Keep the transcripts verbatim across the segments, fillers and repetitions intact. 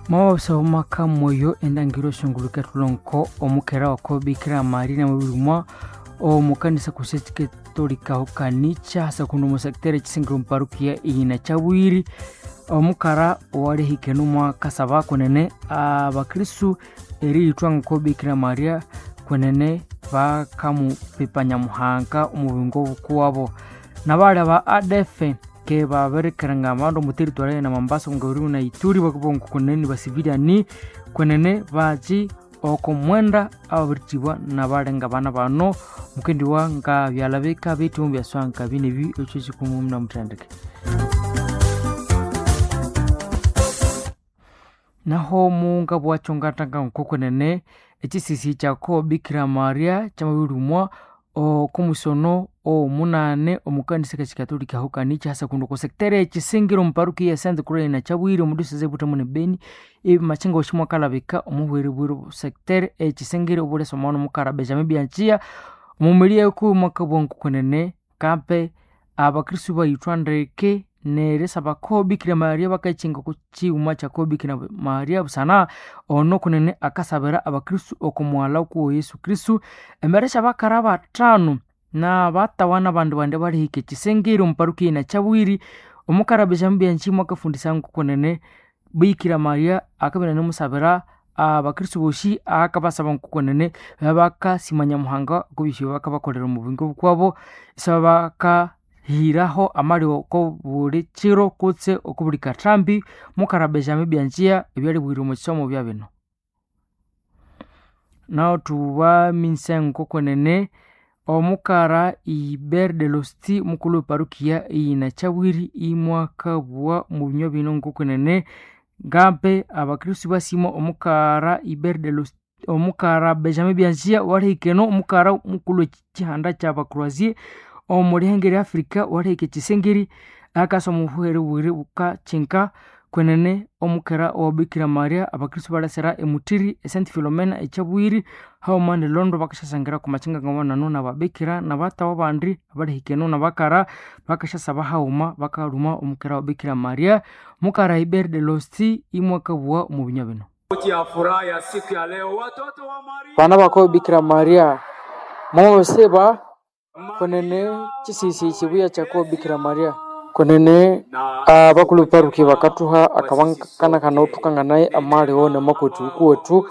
Mwababisa omwaka mwoyo endangiro shonguluka tulonko omukera wako Bikira Maria namabirumwa omukanisa kuseti katolika hokanicha hasa kuno musektere chisingiro mparukia iyina chabwiri omukara owalihikene omwakasaba kwenene abakristu eriyithwa ngoko Bikira Maria kwenene bakamupipa Nyamuhanga omubingo bukuwabo nabali aba A D F ke babirikirenga abandu omu territory na Mombasa ngori na Ituri bakabongo kwenene basiviliani kwenene bachi oko mwenda ababirithibwa nabalenga bana bano mukendiwa nga byalabika bitu byaswanka binebi ekyo kikumu muna muthendeke. Naho munga bwacho ngatanga nkokwenene ekisisi kyako Bikira Maria kyamabirumwa okumusono omunane omukanisa kachikatolika hokanicha hasa kuno kosektere ekisingiro omuparukia ya Saint Croix na Chabwiri omudiosese Butembo ne Beni machinga oshimwa kalabika omuhweri bwiri sektere ekisingiro obulesa omwana omukara Benjamin Bianchia omumilia ku mwaka bwangu kwenene kampe abakristu bayithwa ndeke nerisaba ko Bikira Maria bakachinga ku chiuma kyako Bikira Maria busana ono kunene akasabira abakristu okumwala ku Yesu Kristu embere syabakara batano na batawana bandu bande balihika ekisengeri omuparukia na Chabwiri omukara Benjamin Bianchi mwakafundisa nkokunene Bikira Maria akabina nimusabira abakristu boshi akabasaba nkokunene babakasima Nyamuhanga kubisyo bakabakolera omu bwingo bukwabo isaba baka hiraho amali oko buli kiro kutse oko buli kathambi mukara Benjamin Bianchia ebyalibwire omu kisomo bya bino. Naho tubaminsa nkokunene omukara Ibert de Losti mukulu weparukia iyina Chabwiri imwakabugha omu binywa bino nkokunene ngampe abakristu basima omukara Ibert de Losti omukara Benjamin Bianchia walihikeno omukara mukulu wekihanda kyabakroasie omulihanga lya Africa walihika ekisengeri akasa omubuhere bwire bukachinka kwenene omukera owa Bikira Maria abakristu balasira emuthiri e Saint Philomena echabwiri haghuma ne Londo bakasyasangira ku machinga ngawanano nababikira nabatawa abandi abalihikeno nabakara bakasyasaba haghuma bakalhuma omukera wa Bikira Maria mukara Ibert de Losti imwakabugha omu binywa bino. Ya furaha ya siku ya leo watoto wa Maria Bana bako Bikira Maria mwamabisiba kwenene chisisi chibuya kyako Bikira Maria kwenene abakulhu paruki bakathuha akabankanakana othukanganaye amaliwo namakwethu ukuwethu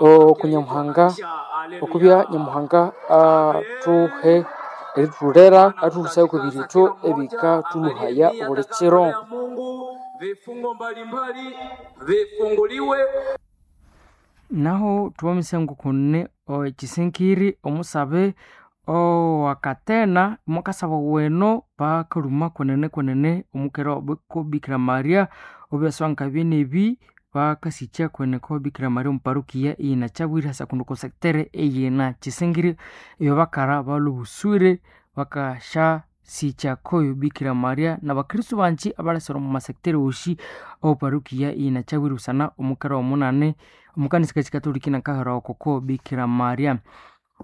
oku Nyamuhanga okubya Nyamuhanga athuhe erithulera athuhusaye okwebiritho ebikathulhuhaya obuli kiro. Mungu vifungo mbalimbali vifunguliwe. Naho thuwamise ngokune ekisinkiri omusabe owakatena mwakasaba weno bakalhuma kwenene kwenene omukera ko Bikira Maria obyaswanka byenebi bakasikya kwenene ko Bikira Maria omuparukia iyina Chabwiri hasa kuno kosektere eyina Kisingiri eyo bakara balubuswire bakasyasikya koyo Bikira Maria nabakristu bangi abalasira omu masektere wosi oparukia iyina Chabwiri busana omukera omunane omukanisa kachikatoliki nakahera okoko Bikira Maria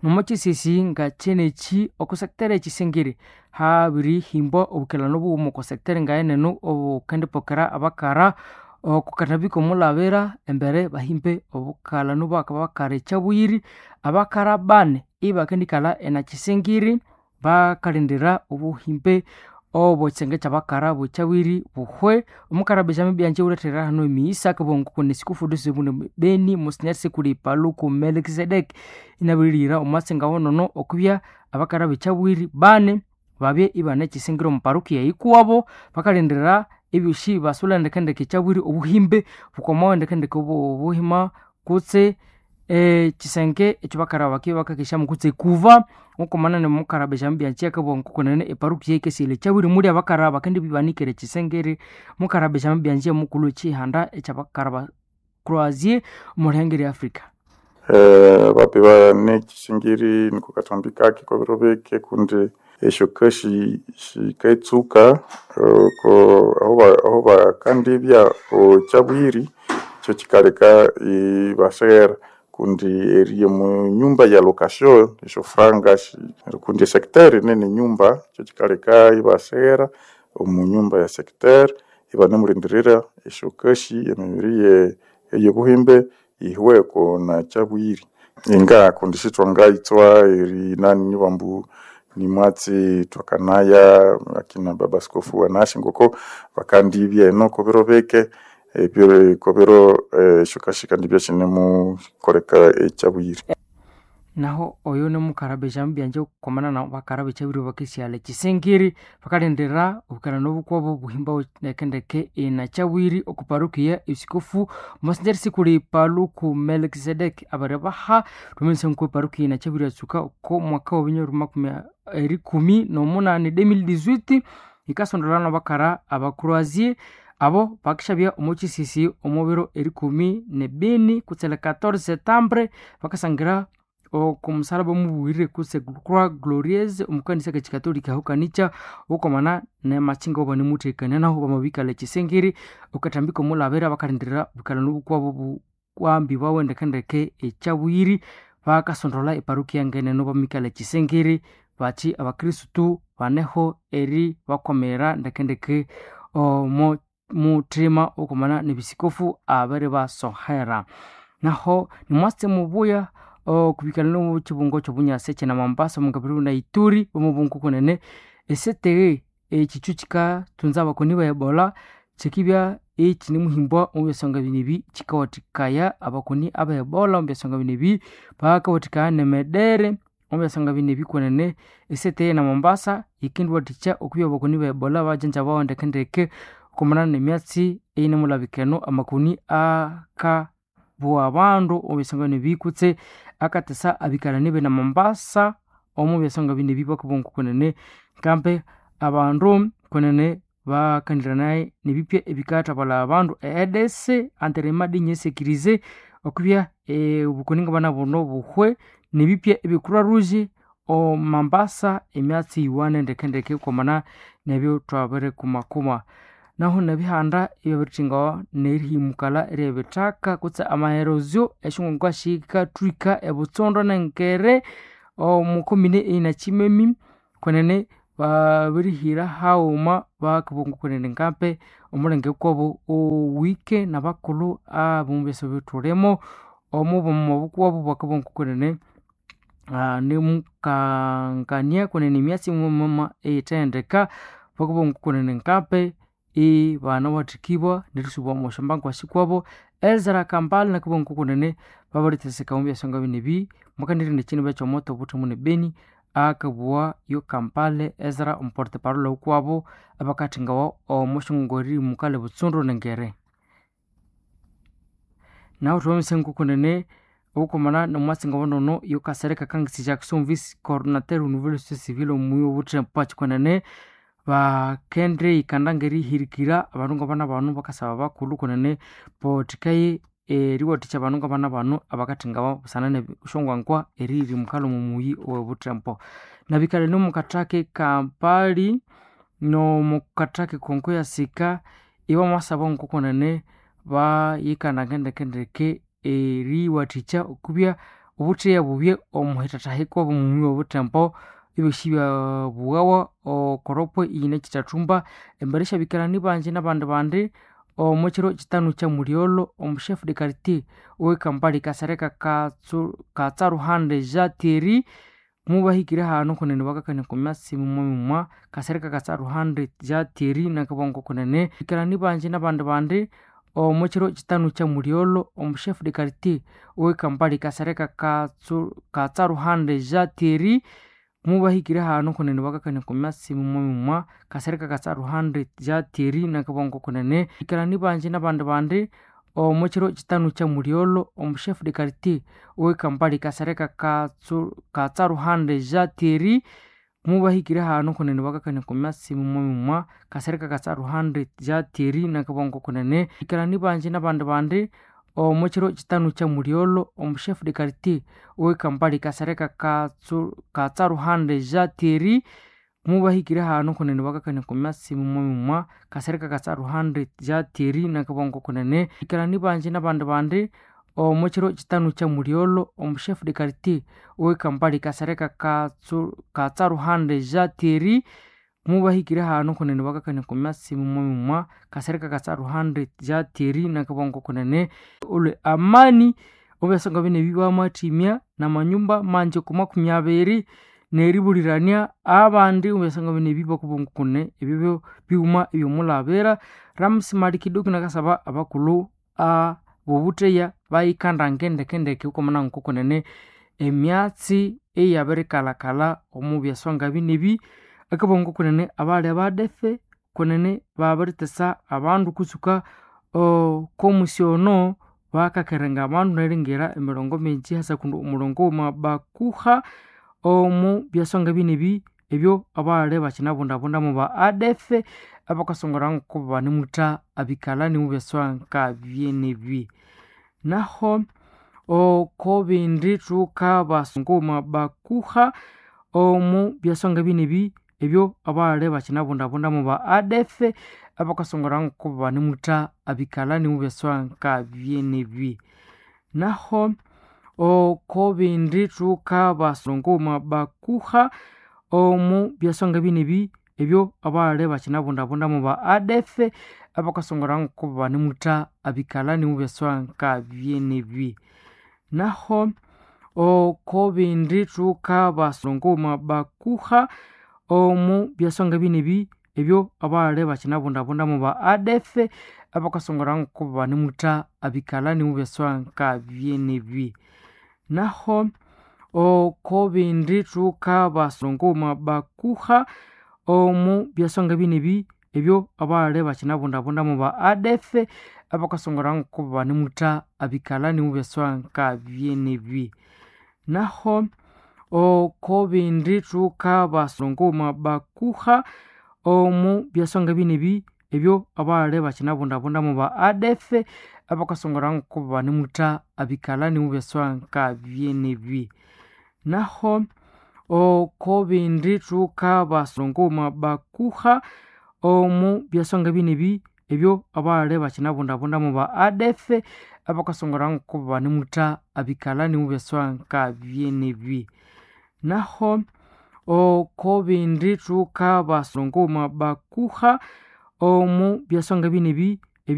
nomukisisi nga kyenekyi oko sektere ekisingiri habirihimbwa obukelano bughuma oko sektere ngayeneno obukendipokera abakara okukanabika omulabira embere bahimbe obukalano bwakabakara ekyabuyiri abakara bane ibakendikalha enakisingiri bakalindira obuhimbe obwekisenge kyabakara bwekyabwiri buhwe omukara Benjamin Bianchi ulethera hano emighisa akabugha ngokune sikufudu sibune Beni Monsignor Sikuli Paluku Melkisedeki inabiririra omwasinga wonono okubya abakara bekyabwiri bane babye ibane ekisingiro omu parukia yikuwabo bakalindira ebyosi basulha ndekendeke ekyabwiri obuhimbe bukomawo ndekendeke obuhima kutse ekisenge ekyo bakara bakibya bakakesyamu kutse ekuva nkokumanene mukara Benjamin Bianchi akabugha ngokunene eparukia yikesire ekyabwiri muli abakara bakendibya ibanikere ekisengeri mukara Benjamin Bianchi omukulhu wekihanda ekyabakara ba Croatie omulihanga erya Africa. Eh, bapi nekisingiri niko kathambi kake kwabiro bike kundi esyoka shiketsuka oko aho aho bakandibya okyabwiri ekyo kikaleka ibaseghera kundi eri omu nyumba ya location esyofranga kundi esecteur nene nyumba ekyo kikaleka ibaseghera omu nyumba ya secteur ibanemulindirira esyokashi emibiri ye Eyobuhimbe ihweko na Chabwiri inga kundi sithwangaitswa eri nani bambu nimwatsi twakanaya akina baba askofu wanashi ngoko bakandibya eno kobiro beke ebyo kobiro eshokashika ndibya shinemukoleka eChabwiri. Naho oyo nimukara Benjamin Byanje okwamana na bakara b'eChabwiri bakesiala Chisingiri bakalindira obukalani obukwabo buhimba ndekendeke ina Chabwiri oku parokia esikofu Monsignor Sikuli Paluku Melkisedek abaribaha rumense nko parokia ina Chabwiri atsuka oko mwaka wa binyoro makumi erikumi n'omunani deux mille dix-huit ikasondolana bakara abakroasie abo bakishabya omu kisisi omu biro erikumi nebini kutse le quatorze septembre bakasangira oku musalaba omubuwirire kutse Croix Glorieuse omukanisa kekikatolika aho kanica okwamana nemakhinga obanimuthekania naho bamabikala ekisingiri okathambika omulabira bakalindirira obukalani obukwabo bukwambibawe ndekendeke eChabwiri bakasondola eparokia ngeneno bamikala ekisingiri bathi abakristu baneho eri bakwamira ndekendeke omo muthima okwamana nebisikofu abiri basohera. Naho nimwatsi mubuya okubikana n'ekibungo ky'obunyasi ekyina Mombasa omukabiri na Ituri omubungo kunene esete ekithu kikathunza abakoni ba Ebola kyikibya ekinimuhimbwa omu byasonga binu ebi kikawathikaya abakoni aba Ebola omu byasonga binu ebi bakawathikaya nemedere omu byasonga binu ebi kwenene esete na Mombasa yikindiwathikya okubya abakoni ba Ebola bajanjabawa ndekendeke okwamana nemyatsi eyinemulabikeno amakoni aka bwa abandu omu byasonga binu ebi kutse akatesa abikalani bene Mombasa omu byasonga binu ebi bakabunga kwenene nkambe abandu kwenene bakaniranaye nebipya ebikathabalha abandu e E D C anterema dinyesekirize okubya obukoni ngabana buno buhwe nebipya ebye Croix Rouge omu Mombasa emyatsi yiwane ndekendeke okwamana nebyo thwabirikumakuma. Naho nebihanda ebyabirikyingawa nerihimukala ryebithaka kutse amaerosio esyongongwa sikathwika ebutsondo nengere omu komine eyina Kimemi kwenene babirihira haghuma bakabunga kwenene nkampe omulenge kwabo owike nabakulhu abomu byasa ebithulimo omu bukwabo bakabunga kwenene nimukangania kwenene emyatsi muma eyithendeka bakabunga kwenene nkampe ibanawathikibwa nerisubwa omo syambangu sikwabo Ezra Kambale nakabunga kunene babiritheseka omu byasonga binu ebi mukanirina ekyindu ekyomoto obuthemu nebeni akabugha yo Kampale Ezra omuporte parole wukwabo abakathingawa omo syongongo erihimukala ebutsundu nengere. Nahu thwamabya nkokunene obukomana nomwatsi ngobonono yo Kasereka Kangisi Jackson vice coordinateur nouvelle société civile omuyi obuthemba kwenene bakendirikanda ngerihirikira abandu ngabana bano bakasaba bakulhu kwenene bowathikaye eriwathikya abandu ngabana bano abakathingawa busana nesyongwangwa erihimukala omu muyi owobuthembo. Nabikalani omukathaka Kampali nomukathaka Kongo yasika ibamwasaba ngokwenene bayikananga ndekendeke eriwathikya okubya obutheya bubye omuhithathahikwa omu muyi owobuthembo ebyosi byabughawa okoropwe iyine kyithathumba embere syabikalani bangi nabandi bandi omu kiro kitanu kyamulyolho omu chef de quartier owe Kampala Kasereka Katsaruhande Jean Thierry mubahikire hanu kunene bakakania oku myatsi mumwa Kasereka Katsaruhande Jean Thierry nakabongo kunene bikalani bangi nabandi bandi omu kiro kitanu kyamulyolho omu chef de quartier owe Kampala Kasereka Katsaruhande Jean Thierry mubahikire hanu kunene bakakania oku myatsi mumwa Kasereka Katsaruhande Jean Thierry nakabongo kunene bikalani bangi nabandi bandi omu kiro kitanu kyamulyolho omu chef de quartier owe Kampala Kasereka Katsaruhande Jean Thierry mubahikire hanu kunene bakakania oku myatsi mumwa Kasereka Katsaruhande Jean Thierry nakabongo kunene bikalani bangi nabandi bandi omu kiro kitanu kyamulyolho omu chef de quartier owe Kampala Kasereka Katsaruhande Jean Thierry mubahikire hanu kunene bakakania oku myatsi mumwa Kasereka Katsaruhande Jean Thierry nakabongo kunene bikalani bangi nabandi bandi omu kiro kitanu kyamulyolho omu chef de quartier owe Kampala Kasereka Katsaruhande Jean Thierry Mubahikire hano kunene bakakania ku myatsi mumwa mumwa kasereka katsaruhande ja Thierry nakabongo kunene olwe amani obyasonga bine bibamathimya namanyumba manji ku makumi abiri neribulirania abandi obyasonga bine bibakubongo kune ebyo bighuma ebyomulabira. Ramsi Malikiduki nakasaba abakulhu abobutheya bayikandange ndekendeke okwamana ngokunene emyatsi eyabirikalhakalha omu byaswanga binebi akabongo kunene abali abadefe kunene babiritesa abandu kusuka okomusi ono bakakerenga abandu neringira emirongo mingi hasa kundi omurongo wamabakuha omu byaswanga binebi ebyo abali bakinabundabundamu ba adefe abakasongora ngoko banemutha abikalani mu byaswanga byenebi. Naho okobindi thukabasunguma bakuha omu byaswanga binebi ebyo abali bakinabundabundamu ba adefe abakasongora ngoko banemutha abikalani mu byaswanga byenebi. Naho okobindi thukabasunguma bakuha omu byaswanga binebi ebyo abali bakinabundabundamu ba adefe abakasongora ngoko banemutha abikalani mu byaswanga byenebi. Naho okobindi thukabasunguma bakuha omu byaswanga binebi ebyo abali bakinabundabundamu ba adefe abakasongora ngoko banemutha abikalani mu byaswanga byenebi. Naho okobindi thukabasunguma bakuha omu byaswanga binebi ebyo abali bakinabundabundamu ba adefe abakasongora ngoko banemutha abikalani mu byaswanga byenebi. Naho okobindi thukabasunguma bakuha omu byaswanga binebi ebyo abali bakinabundabundamu ba adefe abakasongora ngoko banemutha abikalani mu byaswanga byenebi. Naho okobindi thukabasunguma bakuha omu byaswanga binebi ebyo abali bakinabundabundamu ba adefe abakasongora ngoko banemutha abikalani mu byaswanga byenebi. Naho okobindi thukabasunguma bakuha omu byaswanga binebi.